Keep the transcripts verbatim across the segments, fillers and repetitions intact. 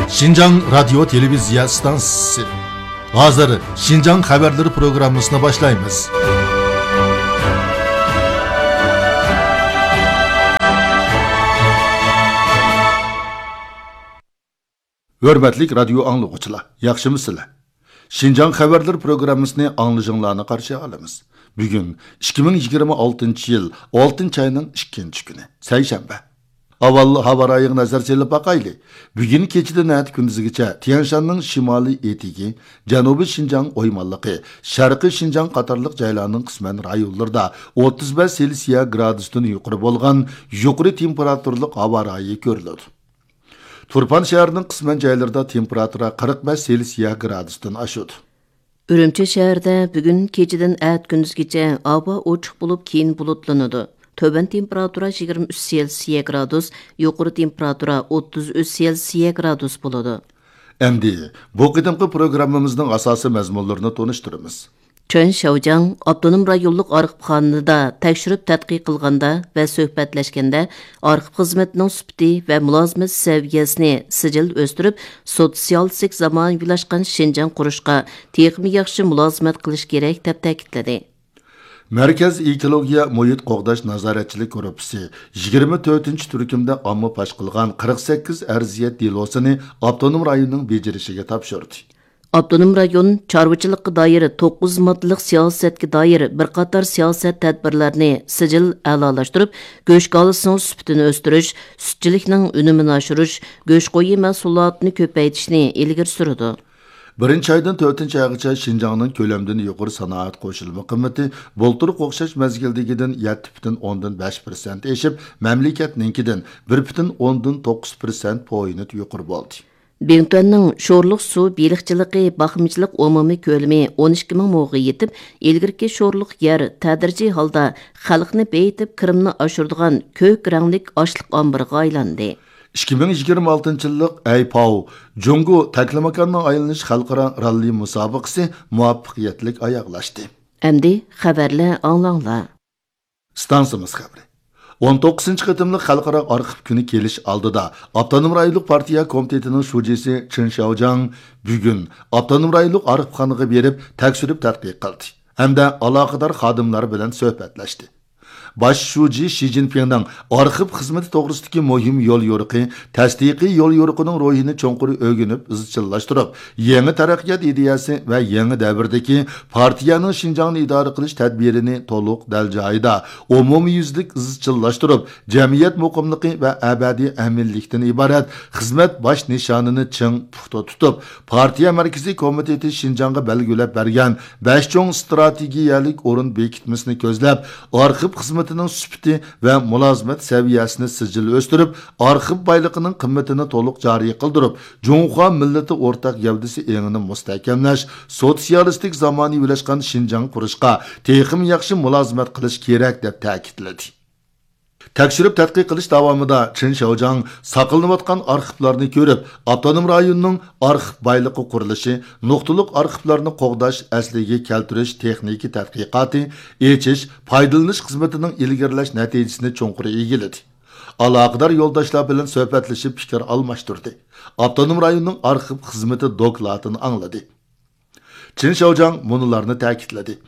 شىنجاڭ رادىيو تېلېۋىزىيە ئىستانسىسى. ھازىر شىنجاڭ خەۋەرلىرى پروگراممىسىنى باشلايمىز. ھۆرمەتلىك رادىيو ئاڭلىغۇچىلار، ياخشىمۇسىلەر؟ شىنجاڭ خەۋەرلىرى پروگراممىسىنى ئاڭلىشىڭلارنى قارشى ئالىمىز. بۈگۈن ئىككى مىڭ يىگىرمە ئالتىنچى يىل ئالتىنچى ئاينىڭ ئىككىنچى كۈنى، سەيشەنبە. ئاۋۋال ھاۋا رايىغا نەزەر سېلىپ باقايلى. بۈگۈن كېچىدىن ئەتە كۈندۈزگىچە تيەنشاننىڭ شىمالىي ئېتىكى، جەنۇبىي شىنجاڭ ئويمانلىقى، شەرقىي شىنجاڭ قاتارلىق جايلارنىڭ قىسمەن رايونلىرىدا ئوتتۇز بەش سېلسىيە گرادۇستىن يۇقىرى بولغان يۇقىرى تېمپېراتۇرىلىق ھاۋا رايى كۆرۈلىدۇ. تۇرپان شەھىرىنىڭ قىسمەن جايلىرىدا تېمپېراتۇرا قىرىق بەش سېلسىيە گرادۇستىن ئاشىدۇ. ئۈرۈمچى شەھىرىدە بۈگۈن كېچىدىن ئەتە كۈندۈزگىچە ھاۋا ئوچۇق بولۇپ، كېيىن بۇلۇتلىنىدۇ. تۆۋەن تېمپېراتۇرا يىگىرمە ئۈچ سېلسىيە گرادۇس، يۇقىرى تېمپېراتۇرا ئوتتۇز ئۈچ سېلسىيە گرادۇس بولىدۇ. ئەمدى بۇ قېتىمقى پروگراممىمىزنىڭ ئاساسىي مەزمۇنلىرىنى تونۇشتۇرىمىز. چېن شياۋجياڭ ئاپتونوم رايونلۇق ئارخىپخانىدا تەكشۈرۈپ تەتقىق قىلغاندا ۋە سۆھبەتلەشكەندە، ئارخىپ خىزمىتىنىڭ سۈپىتى ۋە مۇلازىمەت سەۋىيەسىنى سىجىل ئۆستۈرۈپ، سوتسىيالىستىك زامانىۋىلاشقان شىنجاڭ قۇرۇشقا تېخىمۇ ياخشى مۇلازىمەت قىلىش كېرەك، دەپ تەكىتلىدى. مەركەز ئېكولوگىيە مۇھىت قوغداش نازارەتچىلىك گۇرۇپپىسى يىگىرمە تۆتىنچى تۈركۈمدە ئامما پاش قىلغان قىرىق سەككىز ئەرزىيەت دېلوسىنى ئاپتونوم رايوننىڭ بېجىرىشىگە تاپشۇردى. ئاپتونوم رايون چارۋىچىلىققا دائىر توققۇز ماددىلىق سىياسەتكە دائىر بىر قاتار سىياسەت تەدبىرلەرنى سىجىل ئەلالاشتۇرۇپ، گۆش كالىسىنىڭ سۈپىتىنى ئۆستۈرۈش، سۈتچىلىكنىڭ ئۈنۈمىنى ئاشۇرۇش، گۆش قويى مەھسۇلاتىنى كۆپەيتىشنى ئىلگىرى سۈرىدۇ. بىرىنچى ئايدىن تۆتىنچى ئايغىچە شىنجاڭنىڭ كۆلەمدىن يۇقىرى سانائەت قوشۇلما قىممىتى بۇلتۇرقى ئوخشاش مەزگىلدىكىدىن يەتتە پۈتۈن ئوندىن بەش پىرسەنت ئېشىپ، مەملىكەتنىڭكىدىن بىر پۈتۈن ئوندىن توققۇز پىرسەنت پوينت يۇقىرى بولدى. بىڭتۈەننىڭ شورلۇق سۇ بېلىقچىلىقى باقمىچىلىق ئومۇمىي كۆلىمى ئون ئىككى مىڭ موغا يېتىپ، ئىلگىرىكى شورلۇق يەر تەدرىجىي ھالدا خەلقنى بېيىتىپ، كىرىمنى ئاشۇرىدىغان كۆك رەڭلىك ئاشلىق ئامبىرىغا ئايلاندى. ئىككى مىڭ يىگىرمە ئالتىنچى يىللىق ئەيپاۋ جۇڭگو تەكلىماكاننىڭ ئايلىنىش خەلقئارا راللى مۇسابىقىسى مۇۋەپپەقىيەتلىك ئاياغلاشتى. ئەمدى خەۋەرلەر ئاڭلاڭلار. ئىستانسىمىز خەۋىرى. ئون توققۇزىنچى قېتىملىق خەلقئارا ئارخىپ كۈنى كېلىش ئالدىدا، ئاپتونوم رايونلۇق پارتىيە كومىتېتىنىڭ شۇجىسى چېن شياۋجياڭ بۈگۈن ئاپتونوم رايونلۇق ئارخىپخانىغا بېرىپ، تەكشۈرۈپ تەتقىق قىلدى ھەمدە ئالاقىدار خادىملار بىلەن سۆھبەتلەشتى. باش شۇجى شى جىنپىڭنىڭ ئارخىپ خىزمىتى توغرىسىدىكى مۇھىم يوليورۇقى، تەستىقىي يوليورۇقىنىڭ روھىنى چوڭقۇر ئۆگىنىپ ئىزچىللاشتۇرۇپ، يېڭى تەرەققىيات ئىدىيەسى ۋە يېڭى دەۋردىكى پارتىيەنىڭ شىنجاڭنى ئىدارە قىلىش تەدبىرىنى تولۇق دەل جايىدا، ئومۇميۈزلۈك ئىزچىللاشتۇرۇپ، جەمئىيەت مۇقىملىقى ۋە ئەبەدىي ئەمىنلىكتىن ئىبارەت خىزمەت باش نىشانىنى چىڭ پۇختا تۇتۇپ، پارتىيە مەركىزىي كومىتېتى شىنجاڭغا بەلگىلەپ بەرگەن بەش چوڭ ئىستراتېگىيەلىك ئورۇن بېكىتمىسىنى كۆزلەپ، ئارخىپ خىزمىتىنىڭ سۈپىتى ۋە مۇلازىمەت سەۋىيەسىنى سىجىل ئۆستۈرۈپ، ئارخىپ بايلىقىنىڭ قىممىتىنى تولۇق جارى قىلدۇرۇپ، جۇڭخۇا مىللىتى ئورتاق گەۋدىسى ئېڭىنى مۇستەھكەملەش، سوتسىيالىستىك زامانىۋىلاشقان شىنجاڭ قۇرۇشقا تېخىمۇ ياخشى مۇلازىمەت قىلىش كېرەك، دەپ تەكىتلىدى. تەكشۈرۈپ تەتقىق قىلىش داۋامىدا چېن شياۋجياڭ ساقلىنىۋاتقان ئارخىپلارنى كۆرۈپ، ئاپتونوم رايوننىڭ ئارخىپ بايلىقى قۇرۇلۇشى، نۇقتىلىق ئارخىپلارنى قوغداش، ئەسلىگە كەلتۈرۈش تېخنىكا تەتقىقاتى، ئېچىش، پايدىلىنىش خىزمىتىنىڭ ئىلگىرىلەش نەتىجىسىنى چوڭقۇر ئىگىلىدى. ئالاقىدار يولداشلار بىلەن سۆھبەتلىشىپ پىكىر ئالماشتۇردى. ئاپتونوم رايوننىڭ ئارخىپ خىزمىتى دوكلاتىنى ئاڭلىدى. چېن شياۋجياڭ مۇنۇلارنى تەكىتلىدى.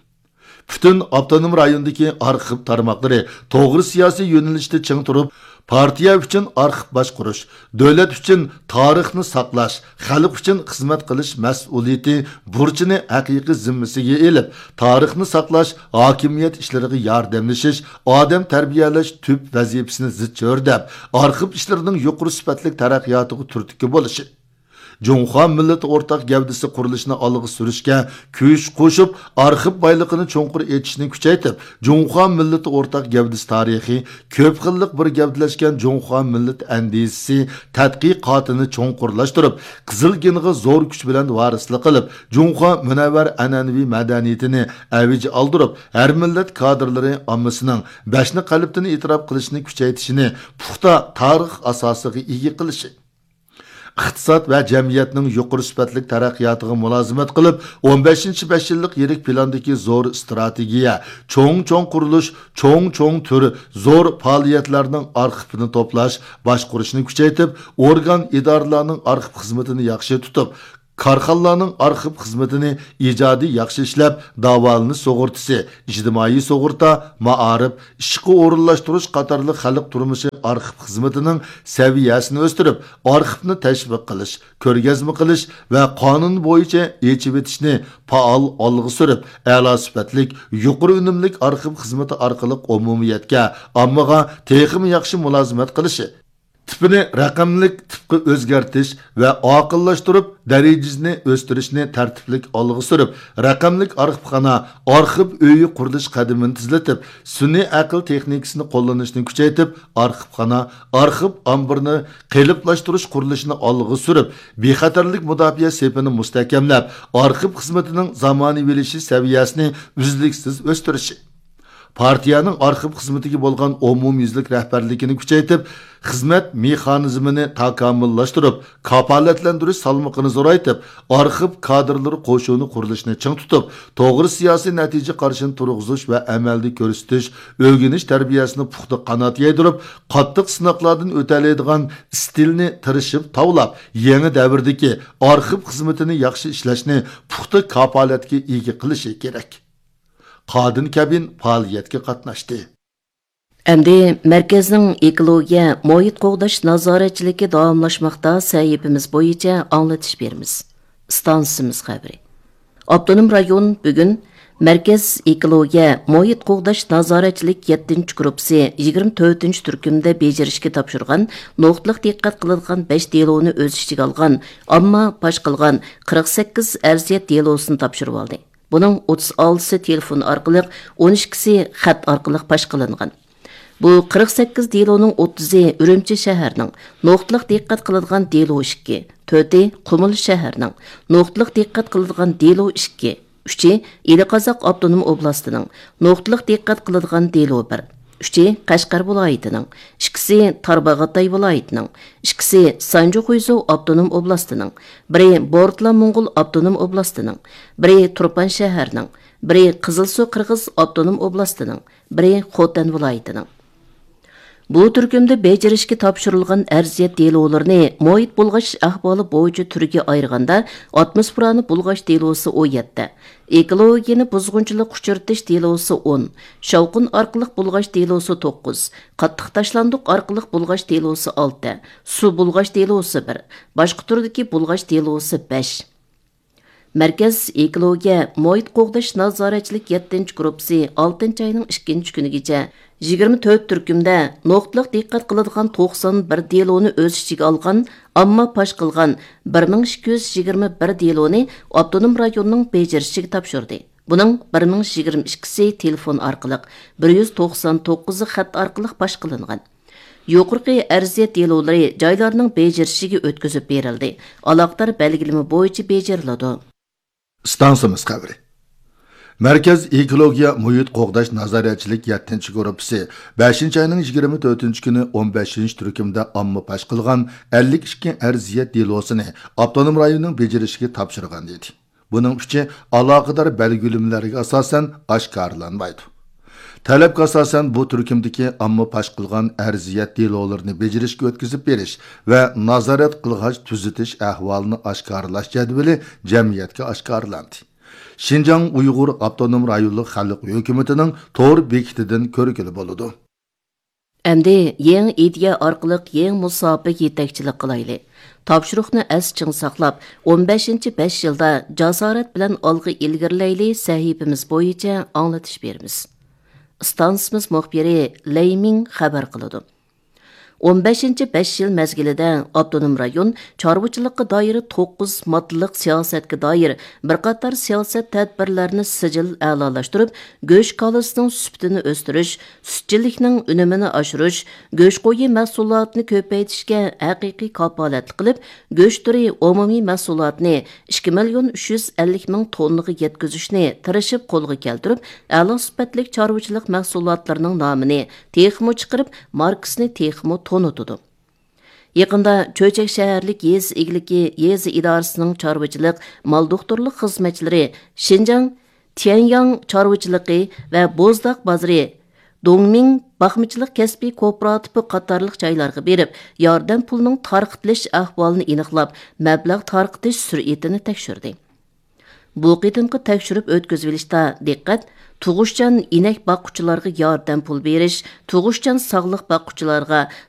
پۈتۈن ئاپتونوم رايوندىكى ئارخىپ تارماقلىرى توغرا سىياسىي يۆنىلىشتە چىڭ تۇرۇپ، پارتىيە ئۈچۈن ئارخىپ باشقۇرۇش، دۆلەت ئۈچۈن تارىخنى ساقلاش، خەلق ئۈچۈن خىزمەت قىلىش مەسئۇلىيىتى، بۇرچىنى ھەقىقىي زىممىسىگە ئېلىپ، تارىخنى ساقلاش، ھاكىمىيەت ئىشلىرىغا ياردەملىشىش، ئادەم تەربىيەلەش تۈپ ۋەزىپىسىنى زىچ ھۆرلەپ، ئارخىپ ئىشلىرىنىڭ يۇقىرى سۈپەتلىك تەرەققىياتىغا تۈرتكە بولۇشى، جۇڭخۇا مىللىتى ئورتاق گەۋدىسى قۇرۇلۇشىنى ئالغا سۈرۈشكە كۈچ قوشۇپ، ئارخىپ بايلىقىنى چوڭقۇر ئېچىشنى كۈچەيتىپ، جۇڭخۇا مىللىتى ئورتاق گەۋدىسى تارىخى، كۆپ خىللىق بىر گەۋدىلەشكەن جۇڭخۇا مىللىتى ئەندىزىسى تەتقىقاتىنى چوڭقۇرلاشتۇرۇپ، قىزىل گېنغا زور كۈچ بىلەن ۋارىسلىق قىلىپ، جۇڭخۇا مۇنەۋۋەر ئەنئەنىۋى مەدەنىيىتىنى ئەۋج ئالدۇرۇپ، ھەر مىللەت كادىرلىرى ئاممىسىنىڭ بەشنى قەلبتىن ئېتىراپ قىلىشنى كۈچەيتىشىنى پۇختا تارىخ ئاساسىغا ئىگە قىلىشى، ئىقتىساد ۋە جەمئىيەتنىڭ يۇقىرى سۈپەتلىك تەرەققىياتىغا مۇلازىمەت قىلىپ، ئون بەشىنچى بەش يىللىق يىرىك پىلاندىكى زور ئىستراتېگىيە، چوڭ-چوڭ قۇرۇلۇش، چوڭ-چوڭ تۈر، زور پائالىيەتلەرنىڭ ئارخىپىنى توپلاش، باشقۇرۇشنى كۈچەيتىپ، ئورگان، ئىدارىلەرنىڭ ئارخىپ خىزمىتىنى ياخشى تۇتۇپ، كارخانىلارنىڭ ئارخىپ خىزمىتىنى ئىجادىي ياخشى ئىشلەپ، داۋالىنىش سۇغۇرتىسى، ئىجتىمائىي سۇغۇرتا، مائارىپ، ئىشقا ئورۇنلاشتۇرۇش قاتارلىق خەلق تۇرمۇشى ئارخىپ خىزمىتىنىڭ سەۋىيەسىنى ئۆستۈرۈپ، ئارخىپنى تەشۋىق قىلىش، كۆرگەزمە قىلىش ۋە قانۇن بويىچە ئېچىۋېتىشنى پائال ئالغا سۈرۈپ، ئەلا سۈپەتلىك، يۇقىرى ئۈنۈملۈك ئارخىپ خىزمىتى ئارقىلىق ئومۇمىيەتكە، ئاممىغا تېخىمۇ ياخشى مۇلازىمەت قىلىشى، تىپىنى رەقەملىك تىپقا ئۆزگەرتىش ۋە ئاقىللاشتۇرۇپ، دەرىجىسىنى ئۆستۈرۈشنى تەرتىپلىك ئالغا سۈرۈپ، رەقەملىك ئارخىپخانا، ئارخىپ ئۆيى قۇرۇلۇش قەدىمىنى تېزلىتىپ، سۈنئىي ئەقىل تېخنىكىسىنى قوللىنىشنى كۈچەيتىپ، ئارخىپخانا، ئارخىپ ئامبىرىنى قېلىپلاشتۇرۇش قۇرۇلۇشىنى ئالغا سۈرۈپ، بىخەتەرلىك مۇداپىئە سېپىنى مۇستەھكەملەپ، ئارخىپ خىزمىتىنىڭ زامانىۋىلىشىش سەۋىيەسىنى ئۈزلۈكسىز ئۆستۈرۈشى. پارتىيەنىڭ ئارخىپ خىزمىتىگە بولغان ئومۇميۈزلۈك رەھبەرلىكىنى كۈچەيتىپ، خىزمەت مېخانىزمىنى تاكامۇللاشتۇرۇپ، كاپالەتلەندۈرۈش سالمىقىنى زورايتىپ، ئارخىپ كادىرلىرى قوشۇنى قۇرۇلۇشىنى چىڭ تۇتۇپ، توغرا سىياسىي نەتىجە قارىشىنى تۇرغۇزۇش ۋە ئەمەلدە كۆرسىتىش، ئۆگىنىش تەربىيەسىنى پۇختا قانات يايدۇرۇپ، قاتتىق سىناقلاردىن ئۆتەلەيدىغان ئىستىلنى تىرىشىپ تاۋلاپ، يېڭى دەۋردىكى ئارخىپ خىزمىتىنى ياخشى ئىشلەشنى پۇختا كاپالەتكە ئىگە قىلىشى كېرەك. قادىن كەبىن پائالىيەتكە قاتناشتى. ئەمدى مەركەزنىڭ ئېكولوگىيە، مۇھىت قوغداش نازارەتچىلىكى داۋاملاشماقتا سەھىپىمىز بويىچە ئاڭلىتىش بېرىمىز. ئىستانسىمىز خەۋىرى. ئاپتونوم رايون بۈگۈن مەركەز ئېكولوگىيە، مۇھىت قوغداش نازارەتچىلىك يەتتىنچى گۇرۇپپىسى يىگىرمە تۆتىنچى تۈركۈمدە بېجىرىشكە تاپشۇرغان نۇقتىلىق دىققەت قىلىدىغان بەش دېلونى ئۆز ئىچىگە ئالغان، ئامما پاش قىلغان قىرىق سەككىز ئەرزىيەت دېلوسىنى تاپشۇرۇۋالدى. بۇنىڭ ئوتتۇز ئالتىسى تېلېفون ئارقىلىق، ئون ئىككىسى خەت ئارقىلىق پاش قىلىنغان. بۇ قىرىق سەككىز دېلونىڭ ئوتتۇزى ئۈرۈمچى شەھەرنىڭ، نۇقتىلىق دىققەت قىلىدىغان دېلو ئىككى، تۆتى قۇمۇل شەھەرنىڭ، نۇقتىلىق دىققەت قىلىدىغان دېلو ئىككى، ئۈچى ئىلى قازاق ئاپتونوم ئوبلاستىنىڭ، نۇقتىلىق دىققەت قىلىدىغان دېلو بىر، ئۈچى قەشقەر ۋىلايىتىنىڭ، ئىككىسى تارباغاتاي ۋىلايىتىنىڭ، ئىككىسى سانجى خۇيزۇ ئاپتونوم ئوبلاستىنىڭ، بىرى بورتلا موڭغۇل ئاپتونوم ئوبلاستىنىڭ، بىرى تۇرپان شەھەرنىڭ، بىرى قىزىلسۇ قىرغىز ئاپتونوم ئوبلاستىنىڭ، بىرى خوتەن ۋىلايىتىنىڭ. بۇ تۈركۈمدە بېجىرىشكە تاپشۇرۇلغان ئەرزىيەت دېلولىرىنى مۇھىت بۇلغاش ئەھۋالى بويىچە تۈرگە ئايرىغاندا، ئاتموسفېرانى بۇلغاش دېلوسى ئون يەتتە، ئېكولوگىيەنى بۇزغۇنچىلىققا ئۇچرىتىش دېلوسى ئون، شاۋقۇن ئارقىلىق بۇلغاش دېلوسى توققۇز، قاتتىق تاشلاندۇق ئارقىلىق بۇلغاش دېلوسى ئالتە، سۇ بۇلغاش دېلوسى بىر، باشقا تۈردىكى بۇلغاش دېلوسى بەش. مەركەز ئېكولوگىيە، مۇھىت قوغداش نازارەتچىلىك يەتتىنچى گۇرۇپپىسى ئالتىنچى ئاينىڭ ئىككىنچى كۈنىگىچە يىگىرمە تۆت تۈركۈمدە نۇقتىلىق دىققەت قىلىدىغان توقسان بىر دېلونى ئۆز ئىچىگە ئالغان، ئامما پاش قىلغان بىر مىڭ ئىككى يۈز يىگىرمە بىر دېلونى ئاپتونوم رايوننىڭ بېجىرىشىگە تاپشۇردى. بۇنىڭ بىر مىڭ يۈز يىگىرمە ئىككىسى تېلېفون ئارقىلىق، بىر يۈز توقسان توققۇزى خەت ئارقىلىق پاش قىلىنغان. يۇقىرىقى ئەرزىيەت دېلولىرى جايلارنىڭ بېجىرىشىگە ئۆتكۈزۈپ بېرىلدى، ئالاقىدار بەلگىلىمە بويىچە بېجىرىلىدۇ. ئىستانسىمىز خەۋىرى. مەركەز ئېكولوگىيە مۇھىت قوغداش نازارەتچىلىك يەتتىنچى گۇرۇپپىسى بەشىنچى ئاينىڭ يىگىرمە تۆتىنچى كۈنى ئون بەشىنچى تۈركۈمدە ئامما پاش قىلغان ئەللىك ئىككى ئەرزىيەت دېلوسىنى ئاپتونوم رايوننىڭ بېجىرىشىگە تاپشۇرغان ئىدى. بۇنىڭ ئۈچى ئالاقىدار بەلگىلىمىلەرگە ئاساسەن ئاشكارىلانمايدۇ. تەلەپكە ئاساسەن، بۇ تۈركۈمدىكى ئامما پاش قىلغان ئەرزىيەت دېلولىرىنى بېجىرىشكە ئۆتكۈزۈپ بېرىش ۋە نازارەت قىلغاچ تۈزىتىش ئەھۋالىنى ئاشكارىلاش جەدۋىلى جەمئىيەتكە ئاشكارىلاندى. شىنجاڭ ئۇيغۇر ئاپتونوم رايونلۇق خەلق ھۆكۈمىتىنىڭ تور بېكىتىدىن كۆرگىلى بولىدۇ. ئەمدى يېڭى ئىدىيە ئارقىلىق يېڭى مۇساپىگە يېتەكچىلىك قىلايلى. تاپشۇرۇقنى ئەستە چىڭ ساقلاپ، ئون بەشىنچى بەش يىلدا جاسارەت بىلەن ئالغا ئىلگىرىلەيلى سەھىپىمىز بويىچە ئاڭلىتىش بېرىمىز. ئىستانسىمىز مۇخبىرى لەي مىڭ خەۋەر قىلىدۇ. ئون بەشىنچى بەش يىل مەزگىلىدە ئاپتونوم رايون چارۋىچىلىققا دائىر توققۇز ماددىلىق سىياسەتكە دائىر بىر قاتار سىياسەت تەدبىرلەرنى سىجىل ئەلالاشتۇرۇپ، گۆش كالىسىنىڭ سۈپىتىنى ئۆستۈرۈش، سۈتچىلىكنىڭ ئۈنۈمىنى ئاشۇرۇش، گۆش قويى مەھسۇلاتىنى كۆپەيتىشكە ھەقىقىي كاپالەتلىك قىلىپ، گۆش تۈرى ئومۇمىي مەھسۇلاتىنى ئىككى مىليون ئۈچ يۈز ئەللىك مىڭ توننىغا يەتكۈزۈشنى تىرىشىپ قولغا كەلتۈرۈپ، ئەلا سۈپەتلىك چارۋىچىلىق مەھسۇلاتلىرىنىڭ نامىنى تېخىمۇ چىقىرىپ، ماركىسىنى تېخىمۇ تونۇتىدۇ. يېقىندا چۆچەك شەھەرلىك يېزا ئىگىلىكى يېزا ئىدارىسىنىڭ چارۋىچىلىق، مال دوختۇرلۇق خىزمەتچىلىرى شىنجاڭ تيەنياڭ چارۋىچىلىقى ۋە بوزداق بازىرى، دۇڭمىڭ باقمىچىلىق كەسپىي كوپىراتىپى قاتارلىق جايلارغا بېرىپ، ياردەم پۇلىنىڭ تارقىتىلىش ئەھۋالىنى ئېنىقلاپ، مەبلەغ تارقىتىش سۈرئىتىنى تەكشۈردى. بۇ قېتىمقى تەكشۈرۈپ ئۆتكۈزۈۋېلىشتا دىققەت تۇغۇشچان ئىنەك باققۇچىلارغا ياردەم پۇل بېرىش، تۇغۇشچان ساغلىق باققۇچىلارغا